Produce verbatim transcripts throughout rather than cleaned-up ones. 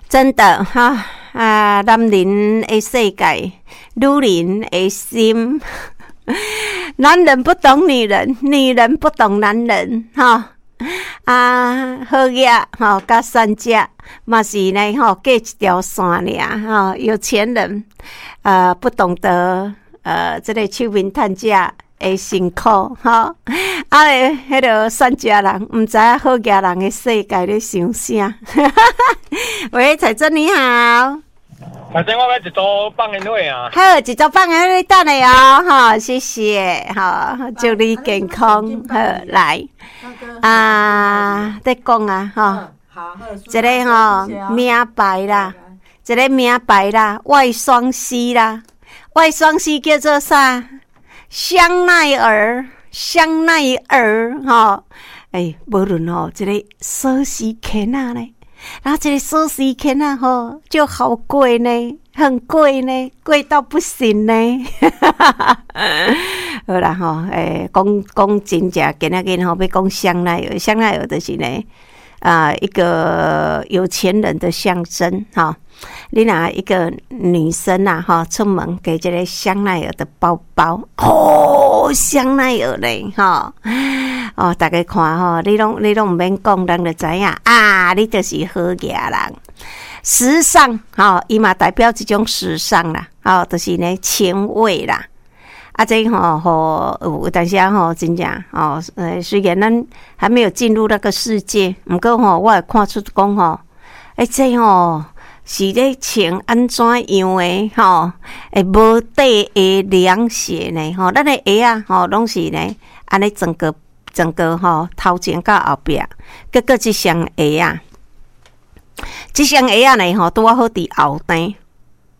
真的哈啊，男人的世界，女人的心，男人不懂女人，女人不懂男人，哈啊，好額吼，佮善者嘛是呢吼，隔一條線爾吼。有錢人呃不懂得呃這個手面趁者的辛苦吼，啊，彼个善食人毋知影好額人的世界咧想啥。喂，彩珍你好。反正我欲一組放煙火啊。好，一組放煙火，你等下哦，吼，謝謝，吼，祝你健康，好，來，啊，咧講啊，吼，一个吼名牌啦，一個名牌啦，外雙 C 啦，外雙 C 叫做啥？香奈兒，香奈兒，吼，欸，無論吼，這個鎖匙圈仔呢，然後這個鎖匙圈仔吼就好貴呢，很貴呢，貴到不行呢。好啦吼，欸，講講真正，今仔日吼欲講香奈兒，香奈兒就是呢，啊，一個有錢人的象徵，吼。你若一個女生啊，吼，出門提這個香奈兒的包包，哦，香奈兒咧，吼，哦，逐家看吼，你攏你攏毋免講，人就知影啊，你就是好額人。時尚，吼，伊嘛代表一種時尚啦，吼，就是呢前衛啦。啊，這吼吼有當時吼真正吼，呃，雖然咱還沒有進入那個世界，毋過吼，我會看出講吼，欸，這吼是咧穿按怎樣的吼，會無底的涼鞋呢？吼，咱的鞋仔吼攏是呢，按呢整個整個吼頭前到後壁，結果這雙鞋仔，這雙鞋仔呢吼拄仔好佇後底，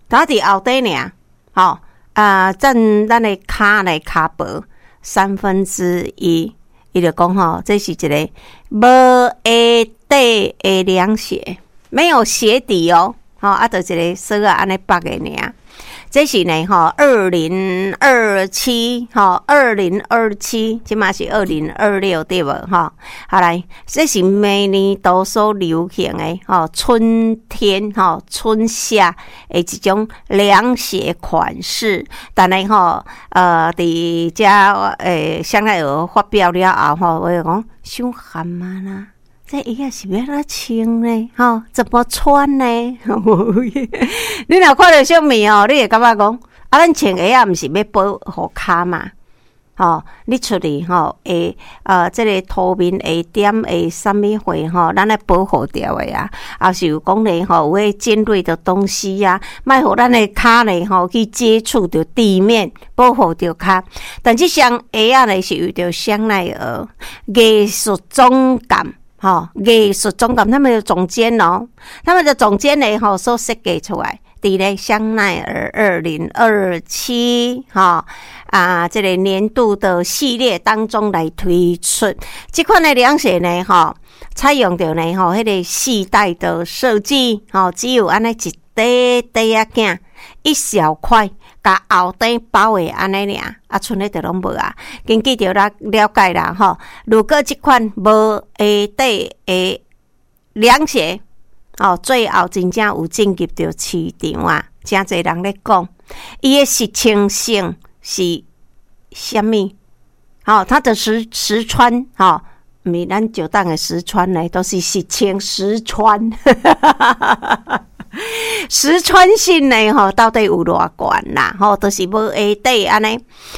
拄仔佇後底爾，吼啊，佔咱的跤呢跤薄三分之一，伊就講吼，這是一個無鞋底的涼鞋。沒有鞋底哦，吼啊，就一個鎖仔按呢縛的爾。這是呢，吼，二零二七，吼，二零二七，這馬是二零二六對無？吼，好來，這是每年都所流行的，吼，春天，吼，春夏的一種涼鞋款式。但係吼，呃，佇遮欸香奈兒發表了後，吼，我就講傷譀啊啦。這鞋仔是欲按怎穿呢？吼，怎麼穿呢？你若看著啥物哦，你會感覺講，啊，咱穿鞋仔毋是欲保護跤嘛？吼，你出去吼會呃，這個塗面會點會啥物貨吼，咱愛保護著的啊。抑是有講咧吼，有彼尖銳的東西啊，莫予咱的跤咧吼去接觸著地面，保護著跤。但這雙鞋仔咧是為著香奈兒藝術總監。吼，藝術總監，他們的總監哦，他們的總監呢，吼，所設計出來，佇咧香奈兒二零二七，吼啊，這個年度的系列當中來推出這款的涼鞋呢，吼，採用著呢，吼，彼個繫帶的設計，吼，只有按呢一塊塊仔仔，一小塊。共後底包的按呢爾，啊，賰咧就攏無啊。根據著咱了解啦，吼，如果這款無鞋底的涼鞋，哦，最後真正有進入著市場啊，誠濟人咧講，伊的實穿性是啥物？吼，它的實實穿，吼，毋是咱石當的實穿呢，都是實穿實穿。實穿性呢，吼，到底有偌懸啦？吼，就是無鞋底按呢。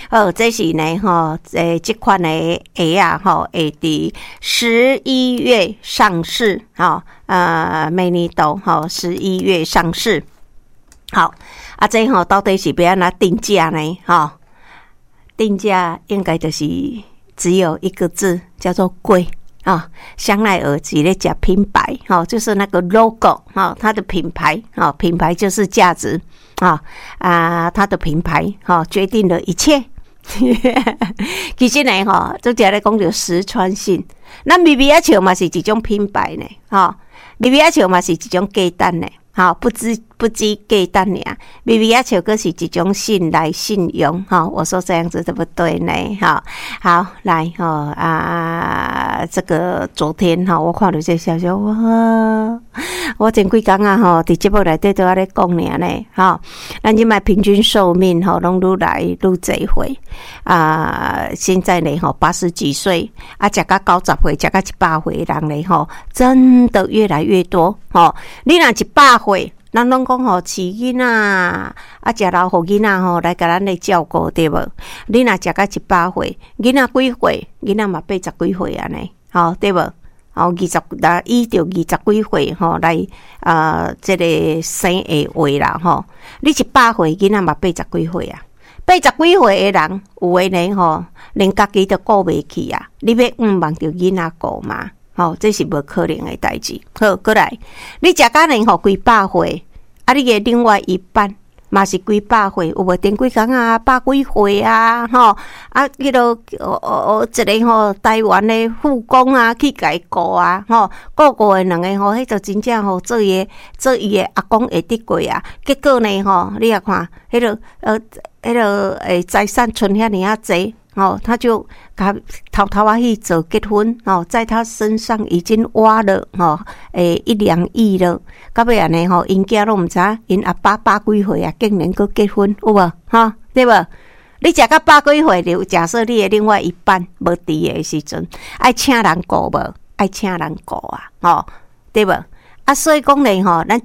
好，這是呢，吼，欸，這款的鞋仔，吼，會佇十一月上市，吼，呃，每年度吼十一月上市。好，啊，這吼到底是欲按怎定價呢？吼，定價應該就是只有一個字，叫做貴。啊，香奈兒是咧食品牌，吼，就是那個 logo，吼，它的品牌，吼，品牌就是價值，啊啊，它的品牌，吼，決定了一切。其實呢，吼，拄才咧講著實穿性，咱微微仔笑嘛是一種品牌呢，吼，微微仔笑嘛是一種價值呢，吼，不知不止簡單爾，微微仔笑閣是一種信賴信用，吼，我說這樣子對不對呢？吼，好，來，吼啊，這個昨天吼，我看著這個消息，哇，我前幾工啊，吼，佇節目內底都按呢講爾呢，吼，咱這擺平均壽命吼，攏愈來愈濟歲啊，現在呢，吼，八十幾歲啊，食甲九十歲，食甲一百歲的人呢，吼，真的越來越多，吼，你若一百歲，人攏講吼，飼囡仔，啊，食老予囡仔吼來共咱咧照顧，對無？你若食甲一百歲，囡仔幾歲？囡仔嘛八十幾歲按呢，吼，對無？吼，二十，若依著二十幾歲吼來啊，這個生的話啦，吼，你一百歲，囡仔嘛八十幾歲啊，八十幾歲的人，有的呢吼，連家己都顧袂去啊！你欲向望著囡仔顧嗎？吼，這是無可能的代誌。好，閣來，你食甲呢吼幾百歲，啊，你的另外一半嘛是幾百歲，有無？頂幾工啊，百幾歲啊，吼，啊，彼落哦哦一个吼台灣的護工啊，去共伊顧啊，吼，顧顧的兩个吼，彼就真正吼做伊的做伊的阿公會得過啊。結果呢吼，你也看，彼落呃，彼落會財產賰遐爾仔濟。哦，他就共偷偷仔去做結婚，哦，在他身上已經挖了，吼，欸一兩億了。到尾按呢吼，𪜶囝攏毋知影，𪜶阿爸百幾歲啊，竟然閣結婚，有無？吼，對無？你食甲百幾歲，就假設你的另外一半無佇的時陣，愛請人顧無？愛請人顧啊，吼，對無？啊，所以講咧吼，咱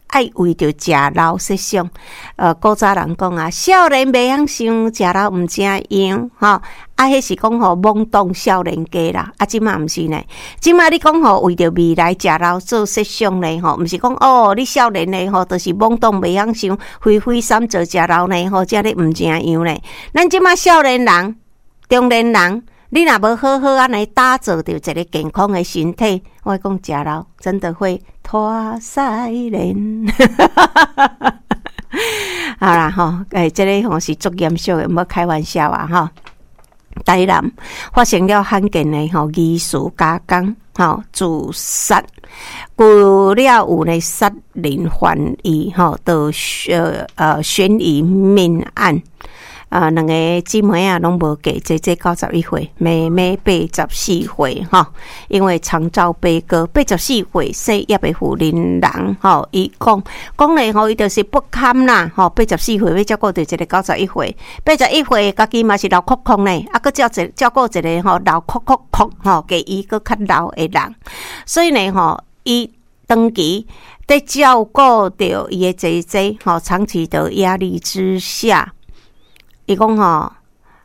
愛為著食老設想，呃，古早人講啊，少年袂曉想，食老毋成樣，吼，啊，彼是講吼懵懂少年家啦，啊，這馬毋是呢，這馬你講吼為著未來食老做設想呢，吼，毋是講哦，你少年的吼，就是懵懂袂曉想，揮揮三做食老呢，吼，這咧毋成樣呢。咱這馬少年人、中年人，你若無好好按呢打造著一个健康的身體，我講食老真的會拖屎練。好啦吼，欸，這个吼是足嚴肅的，毋好開玩笑啊吼。台南發生了罕見的吼疑似加工吼自殺，除了有呢殺人犯疑吼，就呃呃懸疑命案。啊，兩個姊妹仔攏無嫁，姐姐九十一歲，妹妹八十四歲，吼。因為長照悲歌，八十四歲姓葉的婦人人，吼，伊講講咧吼，伊就是不堪啦，吼，八十四歲欲照顧著一个九十一歲，八十一歲家己嘛是老哭哭呢，啊，閣照一照顧一个吼老哭哭哭，吼，較伊閣較老的人，所以呢，吼，伊長期佇照顧著伊的姐姐，吼，長期的壓力之下。伊講吼，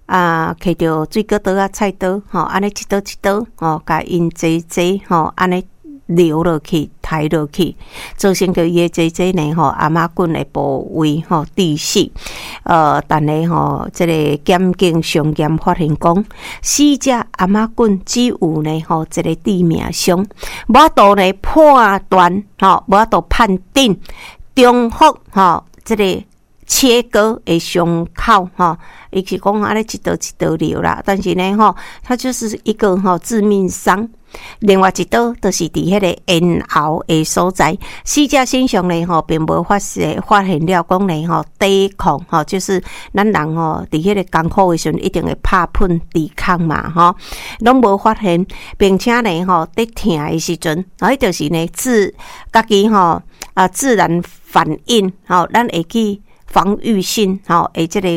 啊，摕著水果刀仔、菜刀，吼，按呢一刀一刀，吼，共𪜶姐姐吼，按呢流落去、刣落去，造成著伊的姐姐呢，吼，頷仔頸的部位吼致死。呃，但是吼，這个檢警相驗發現講，死者頷仔頸只有呢，吼，一个致命傷，無法度呢判斷，吼，無法度判定重複，吼，這个切割的傷口，吼，伊是講按呢一刀一刀流啦，但是呢，吼，它就是一個吼致命傷。另外一刀就是佇彼個咽喉的所在，死者身上呢，吼，並無發現發現了講呢，吼，抵抗，吼，就是咱人吼，佇彼個艱苦的時陣，一定會拍噴抵抗嘛，吼，攏無發現，並且呢，吼，佇疼的時陣，彼就是呢，自家己吼啊自然反應，吼，咱會去防禦性，吼，的這個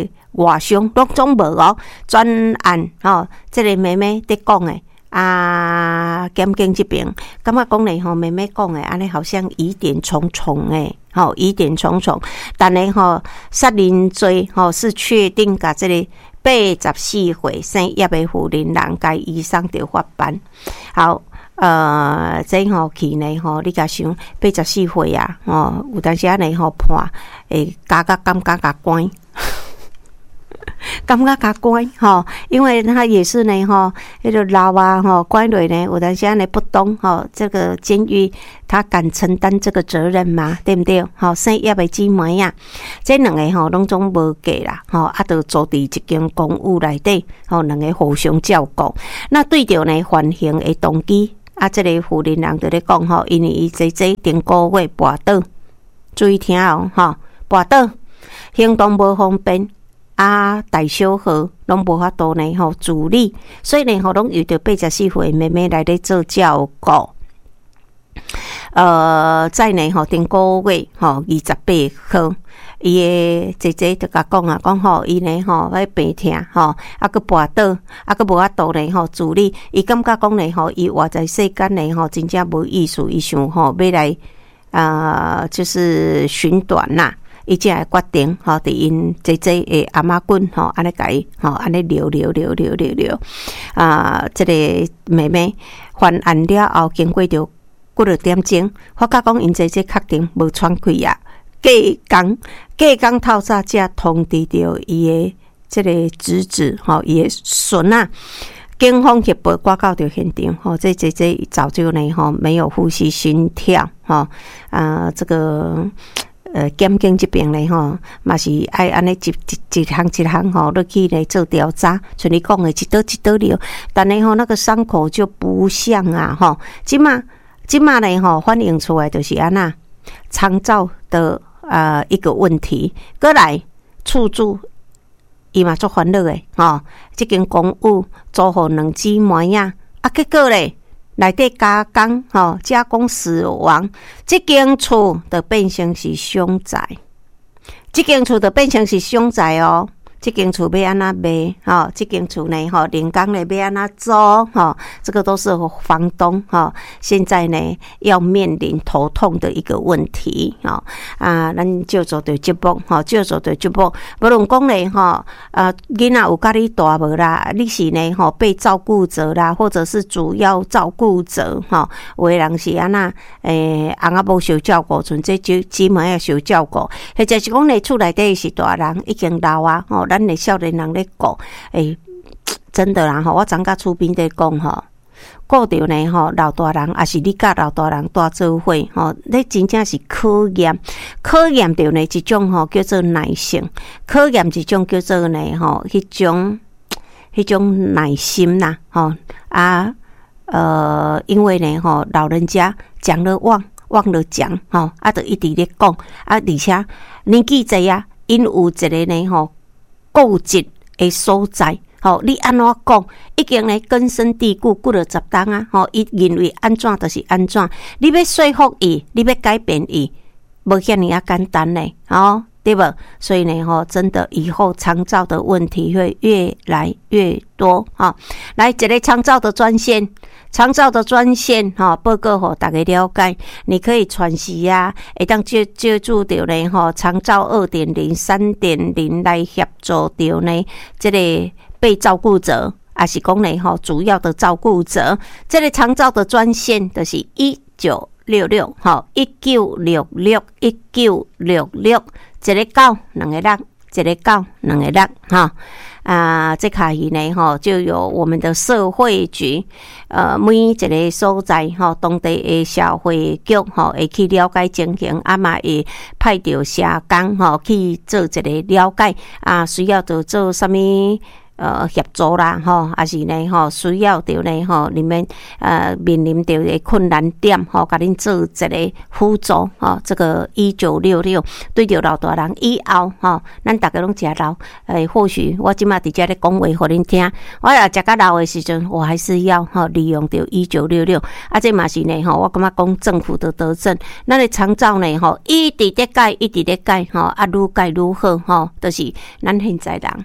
外傷攏總無哦。專案吼，這個妹妹佇講的。啊，檢警這邊感覺講咧吼，妹妹講的按呢好像疑點重重誒，吼，疑點重重。但是吼，殺人罪吼是確定共這个八十四歲姓葉的婦人人共移送著法辦。好，呃，這吼去呢吼，你共想八十四歲啊，吼，有當時按呢吼判會加較感覺較懸。感覺較懸吼，因為他也是呢吼，彼个老啊吼，關落呢，有當時按呢不懂吼，這個監獄他敢承擔這個責任嗎？對毋對？吼，姓葉的姊妹啊，這兩个吼攏總無嫁啦，吼，啊，就租佇一間公寓內底，吼，兩个互相照顧。那對著呢犯行的動機，啊，這个婦人人就咧講吼，因為伊姐姐頂個月跋倒。注意聽哦，吼，跋倒，行動無方便，啊，大小號攏無法度呢吼自理，所以呢吼，攏由著八十四歲妹妹來咧做照顧。呃，在呢吼，頂個月吼二十八號，伊的姐姐就共講啊，講吼，伊呢吼，彼病疼吼，啊閣跋倒，啊閣無法度呢吼自理，伊感覺講呢吼，伊活在世間呢吼，真正無意思，伊想吼欲來啊，就是尋短啦。伊才會決定吼，佇𪜶姐姐的頷仔骨吼，按呢共伊吼，按呢留留留留留留啊，這个妹妹犯案了後，經過著幾落點鐘，發覺講𪜶姐姐確定無喘氣啊，隔工隔工透早才通知著伊的這个侄子吼，伊的孫仔。警方協報趕到著現場，吼，這姐姐早就呢吼沒有呼吸心跳，吼啊，這個。呃，檢警這邊呢，吼，嘛是愛按呢一一一項一項吼落去咧做調查，像你講的，一刀一刀流，但是吼那個傷口就不像啊，吼，這馬這馬呢吼反映出來就是按怎長照的啊一個問題，閣來厝主伊嘛足煩惱的，吼，這間公寓租予兩姊妹仔，啊，結果咧。內底加工吼，加工死亡，這間厝就變成是凶宅，這間厝就變成是凶宅哦。這間厝欲按怎賣？吼，這間厝呢？吼，連工咧欲按怎租？吼，這個都是房東吼，現在呢要面臨頭痛的一個問題。吼啊，咱照做著節目，吼，照做著節目。無論講咧，吼，啊，囡仔有佮你蹛無啦？你是呢？吼，被照顧者啦，或者是主要照顧者？吼，有的人是按怎？欸，翁仔某相照顧，賰這姊姊妹仔相照顧，或者是講咧，厝內底是大人已經老啊，吼。咱的少年人咧顧，欸，真的啦吼！我昨共厝邊咧講吼，顧著呢吼，老大人，抑是你佮老大人蹛做伙吼，你真正是考驗，考驗著呢一種吼叫做耐性，考驗一種叫做呢吼，彼種彼種耐心啦吼啊呃，因為呢吼，老人家講了忘，忘了講吼，啊，就一直咧講啊，而且年紀濟啊，𪜶有一个呢吼。固執的所在，吼，你按怎講，已經呢根深蒂固，幾落十冬啊，吼，伊認為按怎就是按怎，你欲說服伊，你欲改變伊，無遐爾仔簡單呢，吼，對無？所以呢，吼，真的以後長照的問題會越來越多，吼。來，一个長照的專線，長照的專線，吼，報告予大家了解，你可以傳時啊，會當借借助著呢，吼，長照二點零、三點零來協助著呢，這个被照顧者，抑是講呢，吼，主要的照顧者，這个長照的專線就是一九六六，吼，一九六六，一九六六，一个九，兩个六，一个九，兩个六，吼。啊，這下去呢，吼，就有我們的社會局，呃，每一个所在，吼，當地的社會局，吼，會去了解情形，啊嘛會派著社工，吼，去做一个了解，啊，需要著做啥物？呃，協助啦，吼，抑是呢，吼，需要著呢，吼，你們呃面臨著的困難點，吼，共恁做一个輔助，吼，這個一九六六對著老大人以後，吼，咱逐家攏誠老，欸，或許我這馬佇遮咧講話予恁聽，我若食較老的時陣，我還是要吼利用著一九六六，啊，這嘛是呢，吼，我感覺講政府的德政，咱的長照呢，吼，一直咧改，一直咧改，吼，啊，愈改愈好，吼，就是咱現在人。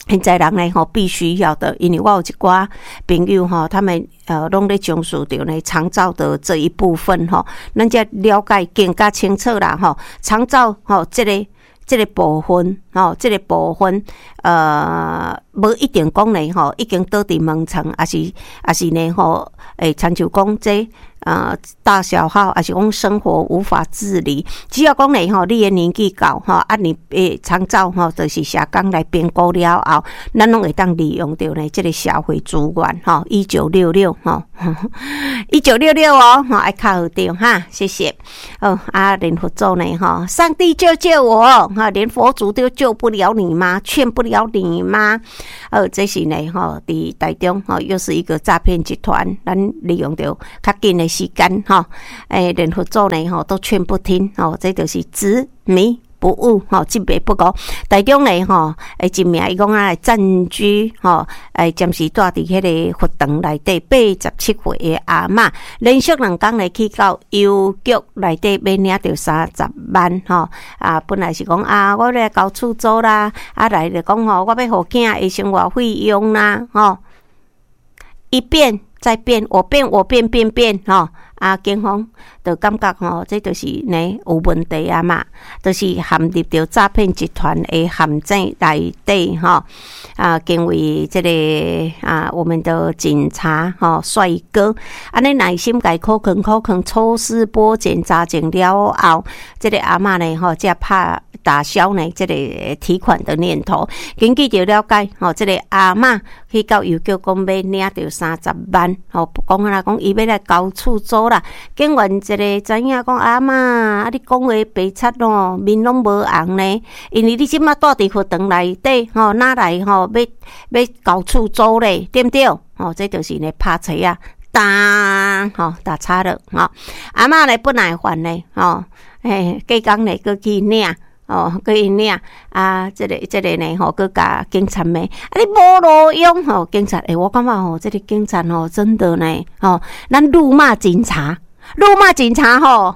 現在人呢吼，必須要的，因為我有一寡朋友吼，他們呃攏咧從事著呢長照的這一部分吼，咱才了解更加清楚啦吼。長照吼，這个這个部分吼，這个部分呃，無一定講呢吼，已經倒佇門床，抑是抑是呢吼，會親像講這呃大小號，抑是講生活無法自理，只要講呢吼，你的年紀到吼，啊你會長照吼，就是社工來評估了後，咱攏會當利用著呢這个社會資源吼，一九六六吼，一九六六哦，吼愛敲著哈，謝謝。哦，啊，連佛祖呢吼，上帝救救我，哈，連佛祖都救救不了你嗎？勸不了你嗎？呃，這是呢吼，佇台中吼，又是一個詐騙集團，咱利用著較緊的時間吼，欸，連佛祖呢吼都勸不聽吼，這就是執迷不悟吼，執迷不悟。台中呢吼，欸，一名伊講啊，暫居吼，欸，暫時蹛佇彼个佛堂內底八十七歲的阿嬤，連續兩工咧去到郵局內底欲領著三十萬吼。啊，本來是講啊，我來交厝租啦，啊來就講吼，我欲予囝的生活費用啦，吼。一變再變，我變我變變變吼。啊，警方就感覺吼，這就是呢有問題啊嘛，就是陷入著詐騙集團的陷阱內底吼。啊，敬畏這个啊，我們的警察吼帥哥，按呢耐心共苦勸苦勸，抽絲剝繭查證了後，這个阿嬤呢吼，才拍打消呢這个提款的念頭。根據著了解吼，這个阿嬤去到郵局講欲領著三十萬，吼，講啊講伊欲來交厝租啦。警員一个知影講阿嬤，啊你講話白賊哦，面攏無紅呢，因為你這馬蹛佇佛堂內底吼，哪來吼欲欲交厝租咧，對毋對？吼，這就是呢拍槌仔，當吼打叉了吼。阿嬤咧不耐煩咧，吼，欸，隔工咧閣去領。哦，閣去領啊！這个這个呢，吼，閣共警察罵，啊你無路用吼！警察，欸，我感覺吼，這个警察吼，真的呢，吼，咱辱罵警察，辱罵警察吼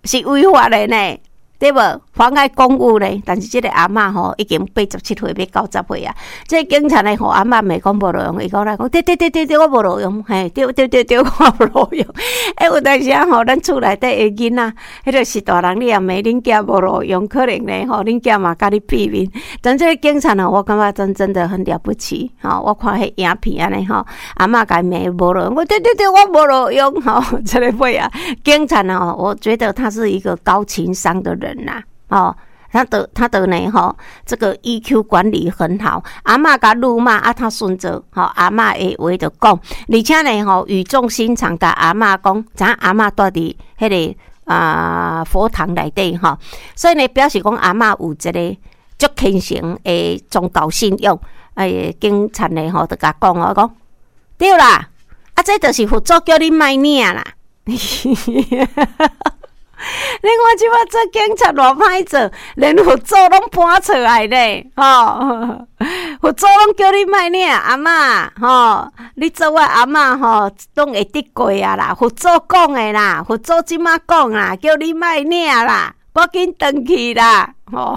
是違法的呢，對無？妨礙公務呢？但是這个阿嬤吼已經八十七歲，欲九十歲啊！這个警察呢，予阿嬤罵講無路用，伊講來講，對對對對對，我無路用，嘿，對對對對，我無路用。欸，有當時啊吼，咱厝內底的囡仔，彼个是大人，你也罵恁囝無路用，可能呢吼，恁囝嘛共你變面。但這个警察呢，我感覺真真的很了不起，吼！我看彼影片按呢吼，阿嬤共伊罵無路用，我對對對，我無路用，吼，這个尾啊，警察呢，我覺得他是一個高情商的人吶，哦，他的他的呢，吼，這個 E Q 管理很好。阿嬤共辱罵啊，他順著吼阿嬤的話就講，而且呢，吼語重心長共阿嬤講，知影阿嬤蹛佇彼个啊佛堂內底吼，所以呢，表示講阿嬤有一个足虔誠的宗教信仰。哎，警察呢，吼就共講哦，講對啦，啊，這就是佛祖叫你莫領啦。你看這馬做警察偌歹做，連佛祖攏搬出來咧，吼！佛祖攏叫你莫領，阿嬤，吼！你做我阿嬤吼，攏會得過啊啦！佛祖講的啦，佛祖這馬講啦，叫你莫領啦，趕緊轉去啦！吼！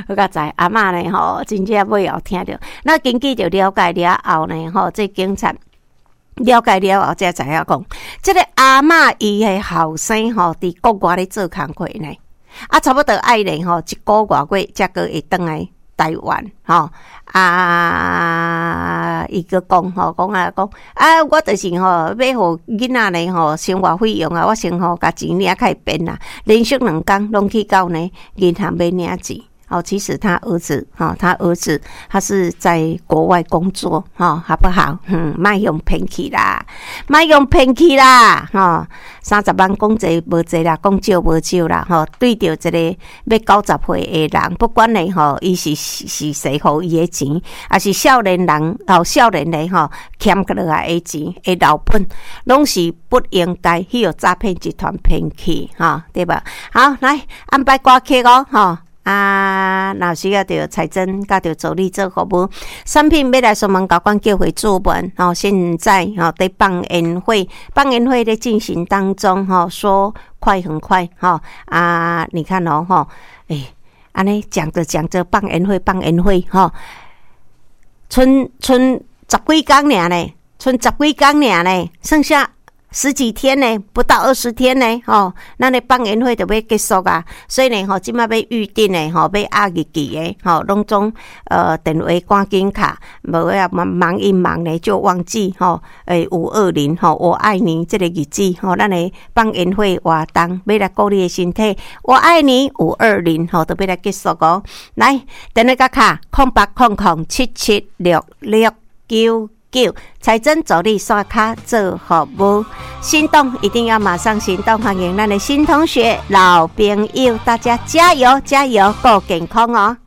好佳哉，阿嬤呢，吼，真正尾後聽著，那根據著了解了後呢，吼，這警察了解了後，才知影講，這个阿嬤伊的後生吼，佇國外咧做工課呢，啊，差不多愛咧吼，一個外月才閣會轉來台灣吼。啊，伊閣講吼，講啊講啊，我就是吼，欲予囡仔咧吼生活費用啊，我先吼共錢領較會便啦，連續兩工攏去到呢銀行欲領錢。哦，其實他兒子，哈，他兒子他是在國外工作，哈，好不好？嗯，莫予騙去啦，莫予騙去啦，吼，三十萬講濟無濟啦，講少無少啦，吼，對著一个欲九十歲的人，不管呢，吼，伊是是誰予伊的錢，抑是少年人，哦，少年的吼欠落來的錢的老本，攏是不應該去予詐騙集團騙去，吼，對吧？好，來安排歌曲哦，吼。啊，若需要著財政，佮著助理做服務，產品欲來雙門交管叫回注文吼，現在吼佇放煙火，放煙火咧進行當中吼，說快很快吼啊！你看哦吼，欸，按呢講著講著放煙火放煙火吼，賰賰十幾工爾呢，賰十幾工爾呢，剩下十幾天呢，不到二十天呢，吼，咱的放煙火就欲結束啊，所以呢，吼，這馬欲預訂的，吼，欲壓日期的，吼，攏總呃電話趕緊敲，無啊忙忙一忙呢就忘記，吼，欸五二零，吼，我愛你這個日子，吼，咱的放煙火活動，欲來顧你的身體，我愛你五二零，吼，都欲來結束哦。來，電話共敲空八空空七七六六九九，財政助理刷卡做服務，心動一定要馬上行動！歡迎咱的新同學、老朋友，大家加油加油，顧健康哦！